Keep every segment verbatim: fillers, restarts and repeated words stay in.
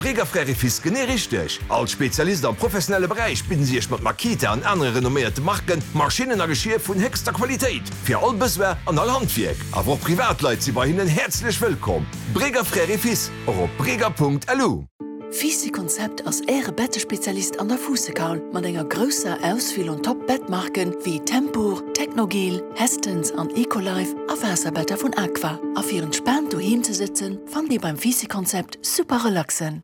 Breger Frères et Fils genee richteg. Als Spezialist am professionelle Beräich bidden si Iech mat Makita an anere renomméierte Marken Maschinnen a Geschier vun héchster Qualitéit fir all Besoin an all Handwierk. Awer och Privatleit si bei hinnen häerzlech wëllkomm. Breger Frères et Fils, och op breger.lu. Fisi Konzept ass Äre Bettespezialist an der Fuussekaul mat enger grousser Auswiel un Top-Bettmarken wéi Tempur, Technogel, Hästens an Ecolife a Waasserbetter vun Aqua. A fir entspaant doheem ze sëtzen, fannt Dir beim Fisi Konzept super relaxen.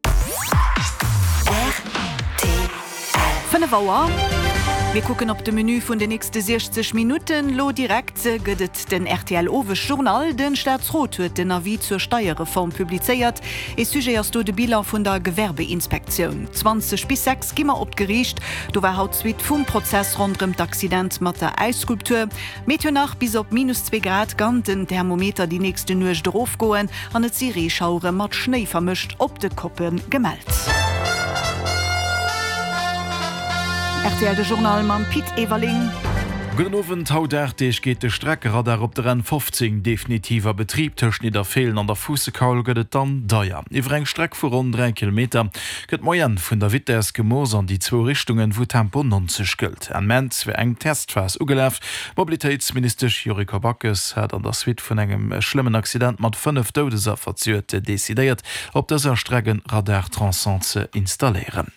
Fënnef Auer. Mir kucken op de Menü vun de nächste siechzeg Minutten. Lo direkt gëtt et den R T L Owesjournal. De Staatsrot huet den Avis zur Steierreform publizéiert. Ee Sujet ass do de Bilan vun der Gewerbeinspektioun. Zwanzeg bis sechs gi mer op d'Geriicht. Do war haut d'Suite vum Prozess ronderëm d'Accident mat der Äisskulptur. Meteo nach, Bis op minus zwee Grad kann den Thermometer déi nächste Nuecht erofgoen an et si Reeschauere mat Schnéi vermëscht op de Koppe gemellt. R T L de Journal mam Pit Everling. Gudden Owend, Haut aacht Deeg geet de Streckeradar op der N fofzéng definitiv a Betrib. Tëscht Nidderfeelen an der Fuussekaul gëtt et dann deier. Iwwer eng Streck vu ronn dräi Kilometer gëtt d'Moyenne vun der Vitess gemooss an déi zwou Richtungen, wou Tempo nonzeg gëllt. Enn Mäerz wär eng Testphas ugelaf. D'Mobilitéitsministesch Yuriko Backes hat an der Suite vun engem schlëmmen Accident mat fënnef Doudesaffer zejoert decidéiert, op dëser Streck e Radar-Tronçon ze installéieren.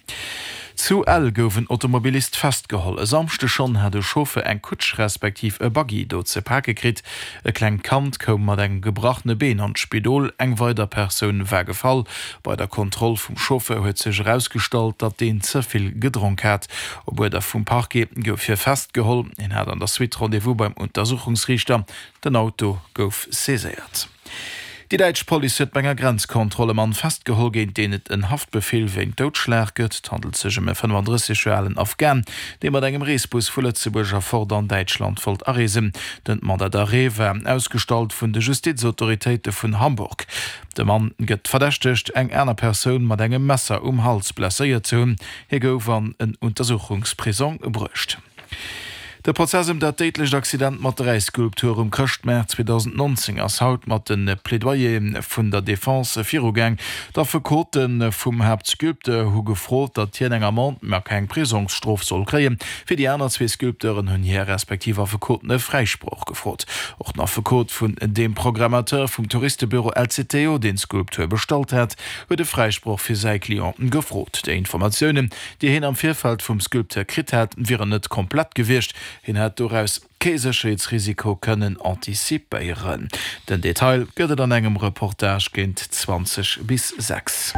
Zu Ell gouf en Automobilist festgeholl. E Samschde schonn hat e Chauffer eng Kutsch respektiv e Buggy do ze pake kritt. E klengt Kand koum mat engem gebrachene Been an d'Spidol, eng weider Persoun war gefall. Bei der Kontroll vum Chauffer huet sech erausgestallt, datt deen ze vill gedronk hat. Op Uerder vum Parquet gouf hie festgeholl. Hien hat an der Suite Rendez-vous beim Untersuchungsriichter. Den Auto gouf saiséiert. Déi däitsch Police huet bei enger Grenzkontroll e Mann festgeholl, géint deen et en Haftbefeel wéint Doudschlag gëtt. Et handelt sech ëm e fënnefandrësseg Joer alen Afghan, dee mat engem Reesbus vu Lëtzebuerg erfort an Däitschland wollt areesen. Den Mandat d'arrêt war ausgestallt vun de Justizautoritéite vun Hamburg. De Mann gëtt verdächtegt, eng aner Persoun mat engem Messer um Hals blesséiert ze hunn. Hie gouf an en Untersuchungsprisong bruecht. De Prozess ëm dat déidlecht Accident mat der Äisskulptur um Chrëschtmaart zweedausendnonzéng ass haut mat de Plädoyere vun der Defense virugaang. D'Affekote vum Haaptsculpteur hu gefrot, datt hien eng Amende, ma keng Prisongsstrof soll kréien. Fir déi aner zwee Sculpteuren hunn hir respektiv Affekoten e Fräisproch gefrot. Och den Affekot vun deem Programmateur vum Touristebüro L C T O, deen d'Skulptur bestallt hat, huet e Fräisproch fir säi Client gefrot. Déi Informatiounen, déi hien am Virfeld vum Sculpteur kritt hat, wieren net komplett gewiescht. Hien hätt doraus kee Sécherheetsrisiko kënnen antizipéieren. Den Detail gëtt et an engem Reportage géint zwanzeg bis sechs.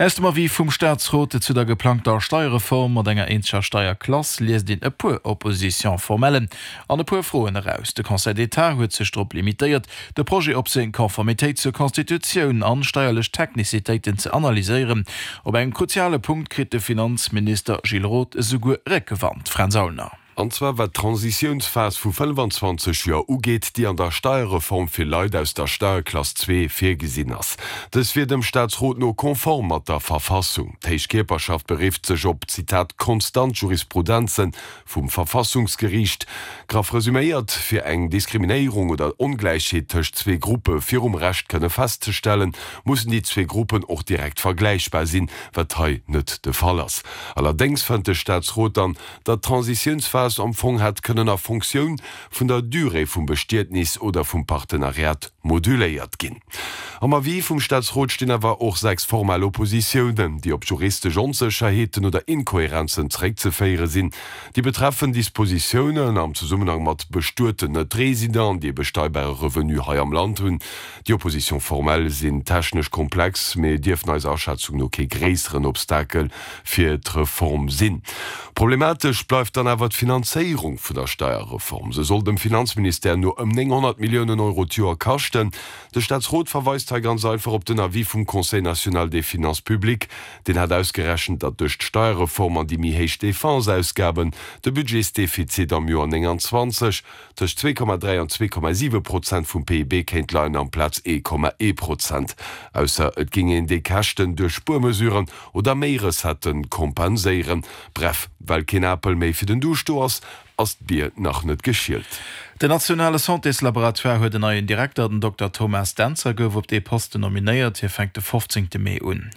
Aus dem Avis vum Staatsrot zu der geplangter Steierreform mat enger eenzeger Steierklass liest een e puer Opposition-formellen an e puer Froen eraus. De Conseil d'État huet sech drop limitéiert, de Projet op seng Konformitéit zur Constitutioun an steierlech Technizitéiten ze analyséieren. Op engem kruziale Punkt kritt de Finanzminister Gilles Roth esouguer Réckewand. Fränz Aulner. An zwar wat d'Transitiounsphas vu fënnfanzwanzeg Joer ugeet, déi an der Steierreform fir Leit aus der Steierklass zwee virgesinn ass. Dës wier dem Staatsrot no konform mat der Verfassung. D'héich Kierperschaft berifft sech op, Zitat, konstant Jurisprudenze vum Verfassungsgeriicht. Graff resuméiert, Fir eng Diskriminéierung oder Ongläichheet tëscht zwee Gruppe virum Recht kënne festzestellen, mussen déi zwee Gruppen och direkt vergläichbar sinn, wat hei net de Fall ass. Allerdéngs fënnt de Staatsrot dann, datt d'Transitiounsphas am Fong hätt kënnen a Fonctioun vun der Durée vum Bestietnis oder vum Partenariat moduléiert ginn. Am Avis vum Staatsrot stinn awer och sechs formell Oppositiounen, déi op juristesch Onsécherheeten oder Inkohärenzen zeréckzeféiere sinn. Déi betreffen Dispositiounen am Zesummenhang mat bestueten Net-Residenten, déi e besteierbare Revenu hei am Land hunn. Déi Oppositions formelles sinn technesch komplex, mee dierften eiser Aschätzung no kee gréisseren Obstakel fir d'Reform sinn. Problematesch bleift dann awer d'Finanzéierung vun der Steierreform. Se soll dem Finanzministère no ëm nénghonnert Milliounen Euro d'Joer kaschten. De Staatsrot verweist hei ganz einfach op den Avis vum Conseil national des finances publiques. Deen hat ausgerechent, datt duerch d'Steierreform an déi méi héich Defenseausgaben de Budgetsdefizit am Joer nénganzwanzeg tëscht zwee Komma dräi an zwee Komma siwe Prozent vum P I B kéint leien amplaz ee Komma ee Prozent, ausser et géing een déi Käschten duerch Spuermesuren oder méi Recettë kompenséieren. Bref, well keen Apel méi fir den Duuscht do ass, ass d'Bier nach net geschielt. Den nationale Santéslaboratoire huet en neien Direkter, den Dokter Thomas Dentzer gouf op dee Posten nominéiert. Hie fänkt de fofzéngte Mee un. Hien